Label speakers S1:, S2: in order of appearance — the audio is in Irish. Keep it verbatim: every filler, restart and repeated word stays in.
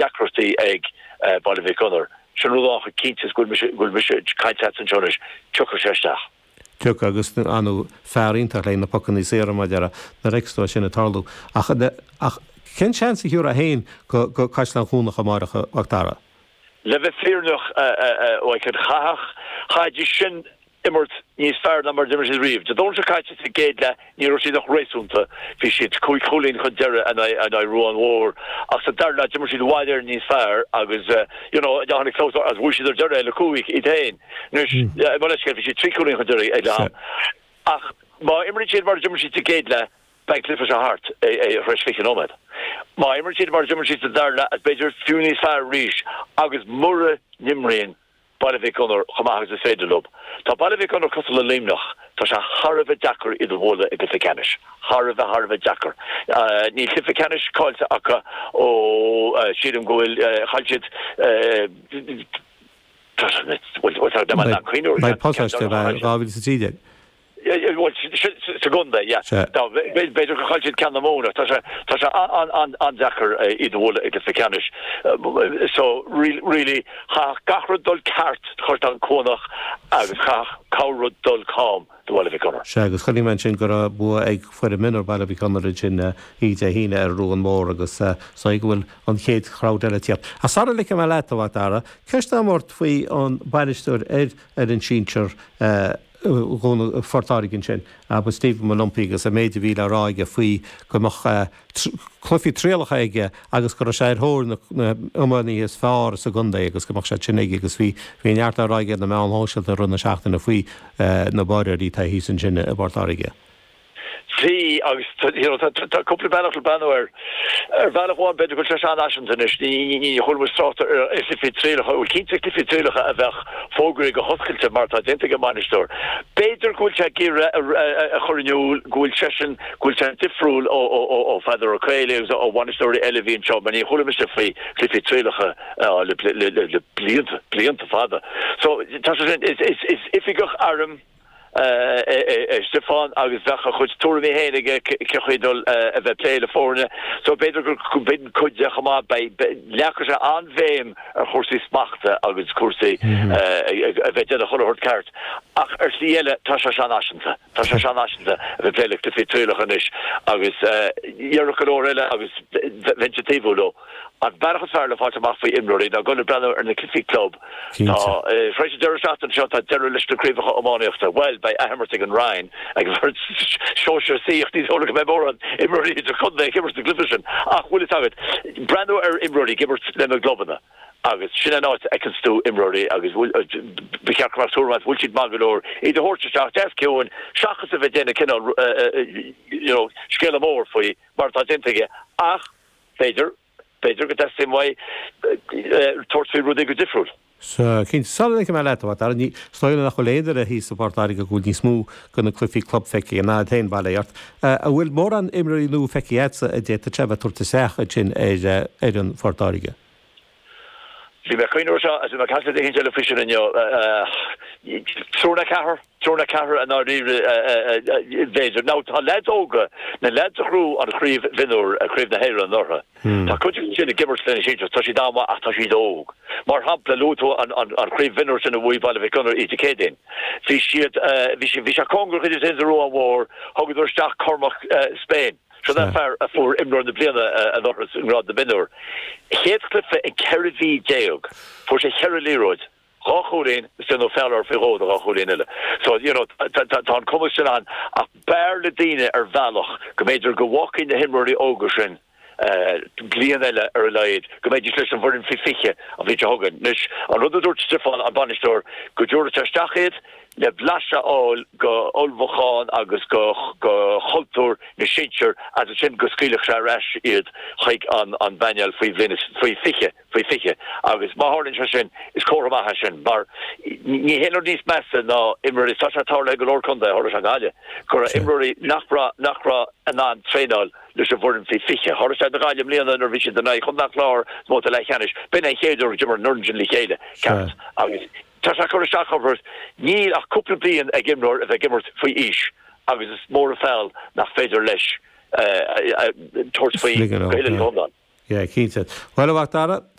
S1: deacrachtaí ag Baile Mhic Gonair. Sin rud amháin cinnte go bhfuil mise ag caint anseo anois, tiocfaidh sé isteach.
S2: Tiocfaidh agus an fear iontach le na pocanna saora mar a déarfá sin ag tarlú. Ach ach cén seans a thabharfá féin go go Caisleán Cuanach amárach a Mhac Dara?
S1: Le bheith fírinneach chaithfeadh chaithfidís sin imirt níos fearr ná mar d'imir siad riamh. Dé Domhnaigh seo caite sa gcéad leath ní raibh siad ach réasúnta, bhí siad cúig chúilín chun deiridh in aghaidh Ruán Mhór ach sa dara leath d'imir siad i bhfad Éireann níos fearr agus you know tháinig close agus bhuaigh siad ar deireadh le cúig iad féin. Anois mo leithscéal bhí siad trí chúilín chun deiridh ag leath am. Ach má imríonn siad mar d'imir siad sa gcéad leath beidh an cluiche seo thart tar éis fiche nóiméad. Má imríonn siad mar d'imir siad sa dara leath b'fhéidir fiú níos fearr arís agus mura n-imríonn Baile Mhic Gonair chomh maith agus is féidir leo. Tá Baile Mhic Gonair cosúil le Luimneach, tá sé thar a bheith deacair iad a bhualadh i gcluiche ceannais. Thar a bheith thar a bheith deacair. Níl cluiche ceannais caillte acu ó sílim go bhfuil chaill siad
S2: dhá mhíle is a trí déag.
S1: Sa gcontae, yeah. B'fhéidir gur chaill siad ceann na Móna. Tá sé tá sé an-deacair iad a bhualadh i gcluiche ceannais. So really chaithfeadh gach rud dul ceart do Chaisleán Cuanach agus chaithfeadh corr-rud dul cam do Bhaile Mhic Gonair.
S2: Sea, agus chonaic mé ansin go raibh bua ag foireann mionúr Baile Mhic Gonair ansin oíche Dé hAoine ar Ruán Mór agus is dóigh go bhfuil an chéad chrowd eile ag tíocht. Ach sara ligfidh mé leat, a Mhac Dara, ceist agam ort faoi an bainisteoir ar fhoireann sinsir Phort Láirge ansin, abair Stephen Molumphy agus an méid a bhí le rá aige faoi go mbeadh cluichí trialacha aige agus go raibh sé ar thóir na n-iománaithe is fearr sa gcontae agus go mbeadh sé sin aige agus bhí bhí neart le rá aige ar na meáin shóisialta i rith na seachtaine faoi na báireoirí atá thíos ansin i bPort Láirge.
S1: Bhí, agus tá cúpla bealach le breathnú air. Ar bhealach amháin, b'fhéidir go bhfuil sé seanfhaiseanta anois, ní chuala muid trácht ar chluichí trialacha, bhuel cinnte cluichí trialacha a bheadh fógraithe go hoscailte mar atá déanta ag an mbainisteoir. B'fhéidir go bhfuil sé ag iarraidh a chur in iúl go bhfuil seisean, go bhfuil sé difriúil ó Pheadar Ó Caollaí agus ó bhainisteoirí eile a bhí anseo, mar ní chuala mise faoi chluichí trialacha le blianta, blianta fada. So tá sé sin, is oifigeach airm, é Stiofán agus bheadh a chuid tuairimí féin aige cén chaoi dul a bheith plé le foirne. So b'fhéidir gur b'in cuid de chomh maith. Beidh, leagfaidh sé an-bhéim ar chúrsaí smachta agus cúrsaí a bheith déanamh chuile shórt ceart. Ach ar shlí eile tá sé seanfhaiseanta. Tá sé seanfhaiseanta a bheith plé le cluichí trialacha anois agus déarfadh go leor eile agus bheinnse ag taobhú leo. An bealach is fearr le fáilt amach faoi imreoirí ná dul ag breathnú ar na cluichí club. Tá, tar éis an deireadh seachtaine seo, tá deireadh leis na craobhacha iománaíochta. Bhuel, beidh athimirt ag an Rinn ag an bhfoireann sóisir C ach ní dóigh liom go mbeidh mórán imreoirí idirchontae ag imirt sa gcluiche sin. Ach bhfuil fhios agat, breathnú ar imreoirí ag imirt lena gclubanna agus sin an áit a fheiceanns tú imreoirí agus ba cheart go mbeadh tuairim agat bhfuil siad maith go leor iad a thabhairt isteach deas ciúin seachas a bheith ag déanamh cineál you know scéala mór faoi mar atá déanta aige ach b'fhéidir B'fhéidir go dteastaíonn uaidh tabhairt faoi rudaí go difriúil.
S2: Sea, cinnte. Sula ligfidh mé leat, a Mhac Dara, ní, is dóigh liom nach bhfuil aon duine thíos i bPort Láirge go bhfuil níos mó de na cluichí club feicthe ná tú féin, bail ó Dhia ort. An bhfuil mórán imreoirí nua feicthe agatsa a d'fhéadfadh sé a bheith ag tabhairt isteach ansin ar fhoireann Phort Láirge?
S1: Bhí mé ag cuimhneamh air seo agus bhí mé ag caint le duine éicint eile faoi sin inniu. Triúr nó ceathrar, triúr nó ceathrar i ndáiríre b'fhéidir. Now tá leaids óga, na leaids a ghnóthaigh an chraobh mhionúir, craobh na hÉireann anuraidh, tá cuid acu sin ag imirt lena sinsir, tá siad an-mhaith ach tá siad óg. Mar shampla, luaigh tú an chraobh mhionúir sin a bhuaigh Baile Mhic Gonair oíche Céadaoin. Bhí siad, bhí sé, bhí sé cóngarach idir iad féin is an Ruán Mhór, thugadar isteach Cormac Spain. Sin an fear a fuair imreoir na bliana anuraidh i ngrád na mionúr. Chéad chluiche in ceithre mhí déag, fuair sé cheithre liathróid, dhá chúilín is déanadh feall air faoi dhó do dhá chúilín eile. So, you know, tá an cumas sin ann ach b'fhearr le daoine ar bhealach go mb'fhéidir go bhfágfaí na himreoirí óga sin bliain eile ar a laghad, go mbeidís leis an bhfoireann faoi fiche an bhliain seo chugainn. Anois, an rud a dúirt Stiofán, an bainisteoir, go dtabharfadh sé isteach iad le blaiseadh a fháil go ullmhúchán agus go chultúr na sinsear agus ansin go scaoilfeadh sé ar ais iad chuig an an bpainéal faoi bhliain is faoi fiche, faoi fiche agus má tharlaíonn sé sin is comhartha maith é sin mar ní haon rud níos measa ná imreoirí, tá sé tarlaithe i go leor contae, tharla sé i nGaillimh, go raibh imreoirí nach raibh nach raibh in ann traenáil leis an bhfoireann faoi fiche. Tharla sé do Ghaillimh i mbliana nuair a bhí siad in aghaidh Chontae an Chláir sa mbabhta leathcheannais, b'in an chéad uair a d'imir an fhoireann sin le chéile ceart agus tá sé ag cur isteach orthu. Níl ach cúpla bliain ag imreoir a bheith ag imirt faoi aois agus is mór an feall nach féidir leis tabhairt faoi go huile is go hiomlán.
S2: Yeah, cinnte. Well a Mhac Dara